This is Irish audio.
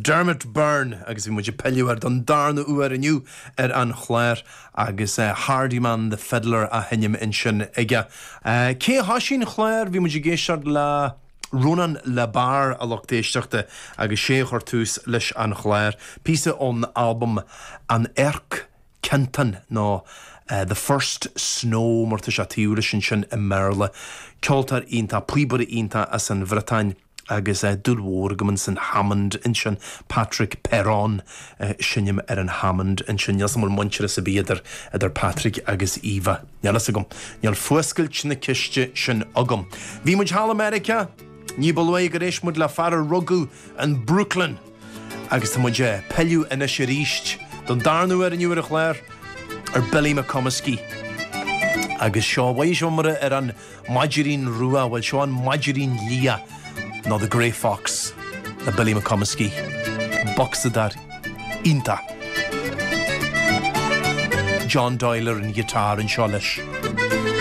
Dermot Byrne agus bhí muid ag pilleadh air don darna huair inniu ar an chlár agus Hardiman the Fiddler á sheinm ansin aige. Cé a thoisigh an clár? Bhí muid ag éisteacht le Rónán Le Bars, a lucht éisteachta, agus sé a chuir tús leis an chlár. Píosa ón albam An Earc Kentan nó The First Snow mar tá sé taobh leis ansin i mBéarla. Ceoltóir iontach, píobaire iontach as an Bhriotáin agus dúil mhór agam ins an Hammond ansin, Patrick Perron ag seinm ar an Hammond ansin. Níl 's agam an bhfuil muintearas ar bith idir idir Patrick agus Eva. Níl fhios agam. Níl fuascailt na ceiste sin agam. Bhí muid thall i Meiriceá ní ba luaithe gur éist muid le fear a rugadh in Brooklyn. Agus tá muid ag pilleadh anois arís don darna huair inniu ar an chlár ar Billy McComiskey. Agus seo, mhaígh sibh mar ar an Mhaidirín Rua, bhuel seo an Maidirín Liath nó The Grey Fox le Billy McComiskey. Bocsadóir iontach. John Doyle ar an ghiotár anseo leis.